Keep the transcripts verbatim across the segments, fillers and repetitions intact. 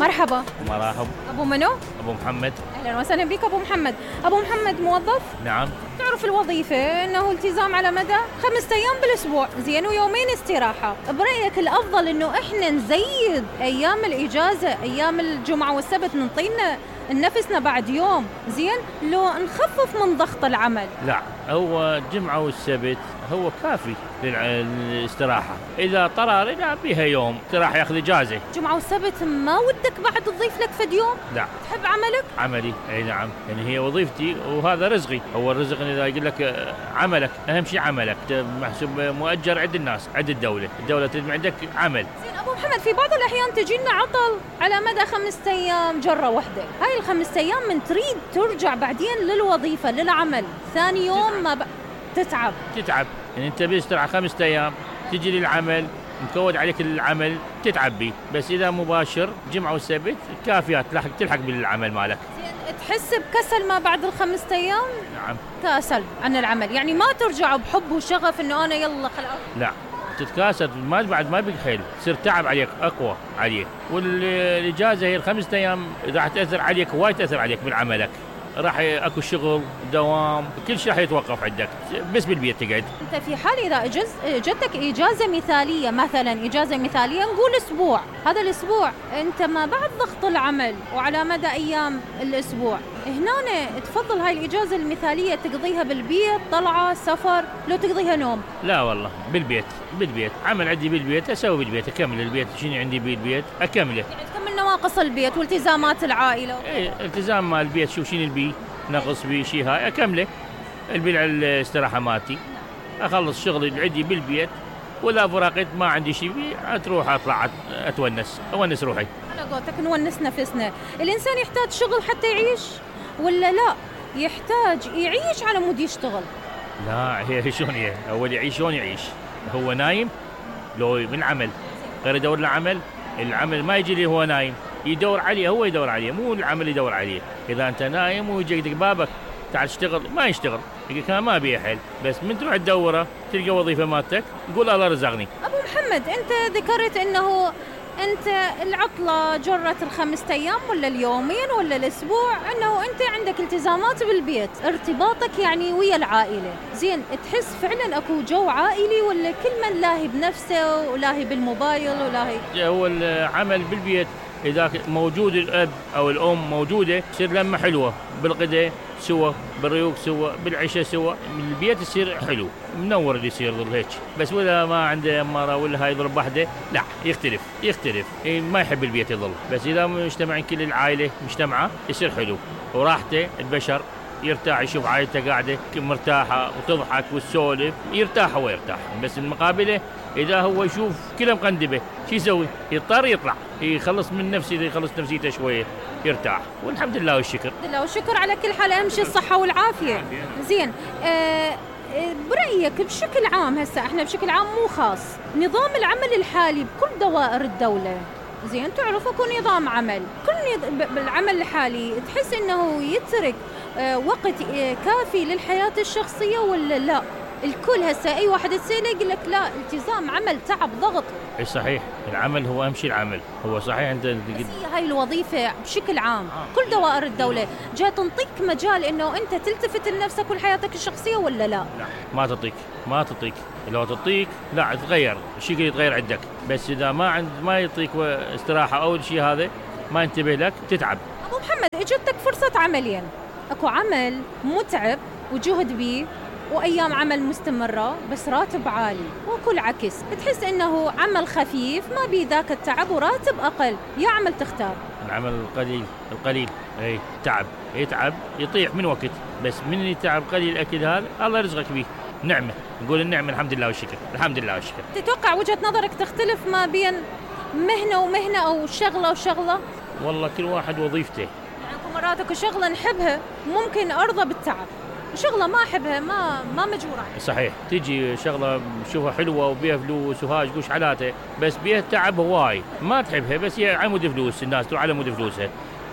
مرحبا. مرحب. أبو منو؟ أبو محمد. أهلا وسهلا بك أبو محمد. أبو محمد موظف؟ نعم. تعرف الوظيفة أنه التزام على مدى خمسة أيام بالأسبوع، زين، ويومين استراحة. برأيك الأفضل أنه إحنا نزيد أيام الإجازة، أيام الجمعة والسبت، ننطينا نفسنا بعد يوم، زين، لو نخفف من ضغط العمل؟ لا، هو الجمعة والسبت هو كافي للاستراحة. إذا طرى رجع بها يوم استراحة ياخذ إجازة. جمعة والسبت ما ودك بعد تضيف لك فد يوم؟ لا. تحب عملك؟ عملي، أي نعم، يعني هي وظيفتي وهذا رزقي. هو الرزق إذا يقول لك عملك، أهم شيء عملك، محسوب مؤجر عند الناس، عند الدولة، الدولة تريد عندك عمل. زين أبو محمد، في بعض الأحيان تجينا عطل على مدى خمسة أيام جرة واحدة، هاي الخمسة أيام من تريد ترجع بعدين للوظيفة للعمل، ثاني يوم ما ب... تتعب تتعب يعني أنت بيسترعى خمسة أيام تجي للعمل مكود عليك العمل تتعب بيه، بس إذا مباشر جمعة والسبت كافيات تلحق تلحق بالعمل مالك. زين، تحس بكسل ما بعد الخمسة أيام؟ نعم. كاسل عن العمل، يعني ما ترجع بحب وشغف إنه أنا يلا خلاص. لا، تتكاسل، ما بعد ما بيك خيل، تصير تعب عليك أقوى عليك، والإجازة هي الخمسة أيام راح تأثر عليك وايد، تأثر عليك بالعملك، راح اكو شغل دوام، كل شيء راح يتوقف عندك، بس بالبيت تقعد. انت في حال اذا اجز جتك اجازه مثاليه، مثلا اجازه مثاليه نقول اسبوع، هذا الاسبوع انت ما بعد ضغط العمل وعلى مدى ايام الاسبوع، هنا تفضل هاي الاجازه المثاليه تقضيها بالبيت، طلعه سفر، لو تقضيها نوم؟ لا والله، بالبيت، بالبيت، عمل عندي بالبيت اسوي بالبيت، اكمل البيت، شنو عندي بالبيت اكمله، يعني تكمل نواقص البيت والتزامات العائله. ايه، التزام مال البيت، شوف شنو البي نقص بي شيء هاي اكمله، البيع الاستراحه مالتي، اخلص شغلي اللي عندي بالبيت، ولا فراقت ما عندي شيء بي تروح اطلع اتونس اونس روحي. على قولتك نونس نفسنا. الانسان يحتاج شغل حتى يعيش ولا لا يحتاج يعيش على مود يشتغل؟ لا، هي شلون هي اول يعيش شلون يعيش؟ هو نايم لو من عمل غير يدور له عمل، العمل ما يجي لي هو نايم، يدور عليه، هو يدور عليه، مو العمل يدور عليه. اذا انت نايم ويجي يدق بابك تعال اشتغل ما يشتغل، يقول كان ما بيه حل، بس من تروح تدوره تلقى وظيفه مالتك قول الله رزقني. ابو محمد، انت ذكرت انه انت العطله جرت الخمسة ايام ولا اليومين ولا الاسبوع، انه انت عندك التزامات بالبيت، ارتباطك يعني ويا العائله، زين، تحس فعلا اكو جو عائلي ولا كل من لاهي بنفسه ولاهي بالموبايل ولاهي؟ هو العمل بالبيت اذا موجود الاب او الام موجوده تصير لمه حلوه، بالغداء سوا، بالريوق سوا، بالعشاء سوا، البيت يصير حلو منور اللي يصير ظل هيك، بس ولا ما عنده اماره ولا هاي يضرب وحده لا يختلف يختلف إيه، ما يحب البيت يظل، بس اذا مجتمعين كل العائله مجتمعه يصير حلو وراحته، البشر يرتاح يشوف عائلته قاعده مرتاحه وتضحك وتسولف، يرتاح هو يرتاح، بس المقابله اذا هو يشوف كله مقندبه شو يسوي؟ يضطر يطلع يخلص من نفسه، يخلص نفسيته شويه يرتاح، والحمد لله والشكر. الحمد لله والشكر على كل حال، اهم شيء الصحه والعافيه. زين، آه برأيك بشكل عام، هسه احنا بشكل عام مو خاص، نظام العمل الحالي بكل دوائر الدوله، زين، تعرف اكو نظام عمل، كل نظ... بالعمل الحالي تحس انه يترك آه وقت آه كافي للحياه الشخصيه ولا لا؟ الكل هسه اي واحد تسأله يقول لك لا، التزام، عمل، تعب، ضغط. اي صحيح، العمل هو اهم شيء، العمل هو صحيح. انت هي هاي الوظيفه بشكل عام آه. كل دوائر الدوله جاي تنطيك مجال انه انت تلتفت لنفسك ولحياتك الشخصيه ولا لا؟ لا، ما تعطيك ما تعطيك لو تعطيك لا تتغير الشيء يتغير عندك، بس اذا ما عند ما يعطيك استراحه او الشيء هذا ما ينتبه لك تتعب. ابو محمد، اجتك فرصه عملين، اكو عمل متعب وجهد بيه وأيام عمل مستمرة بس راتب عالي، وكل عكس تحس إنه عمل خفيف ما بيه ذاك التعب وراتب أقل، يا عمل تختار؟ العمل القليل القليل اي تعب يتعب يطيح من وقت، بس من يتعب قليل الأكل هذا الله يرزقك به، نعمة، نقول النعمة الحمد لله والشكر، الحمد لله والشكر. تتوقع وجهة نظرك تختلف ما بين مهنة ومهنة أو شغلة وشغلة؟ والله كل واحد وظيفته، يعني مرات اكو شغلة نحبها ممكن أرضى بالتعب، شغلة ما أحبها ما ما مجبورة. صحيح، تيجي شغلة شوفها حلوة وبيها فلوس وهاي قوش حالاتها، بس بيها تعب هواي ما تحبها، بس هي على مود فلوس، الناس تروح على مود فلوسها،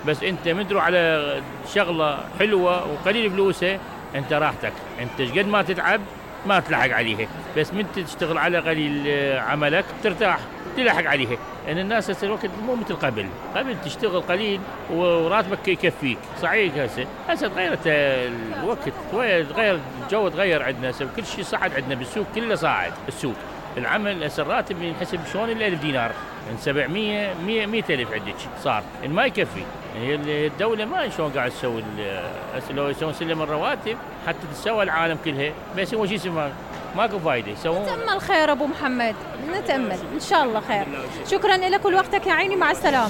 بس أنت من تروح على شغلة حلوة وقليل فلوسها أنت راحتك، أنت قد ما تتعب ما تلحق عليها، بس من تشتغل على قليل عملك ترتاح تلحق عليها. ان الناس هسه الوقت مو مثل قبل، قبل تشتغل قليل وراتبك يكفيك. صحيح هسه هسه تغيرت الوقت، تغير الجو، تغير عندنا هسه كل شيء صعد عندنا بالسوق، كله صاعد السوق. العمل هسه الراتب ينحسب شلون ال ألف دينار من سبعمية مية مية ألف عندك صار، إن ما يكفي. هي الدولة ما شلون قاعد تسوي هسه، لو يسوون سلم الرواتب حتى تسوى العالم كلها، بس هو شيء اسمه ماكو فايدة يسوون. نتأمل خير أبو محمد، نتأمل إن شاء الله خير. شكرا لك ولوقتك يا عيني، مع السلامة.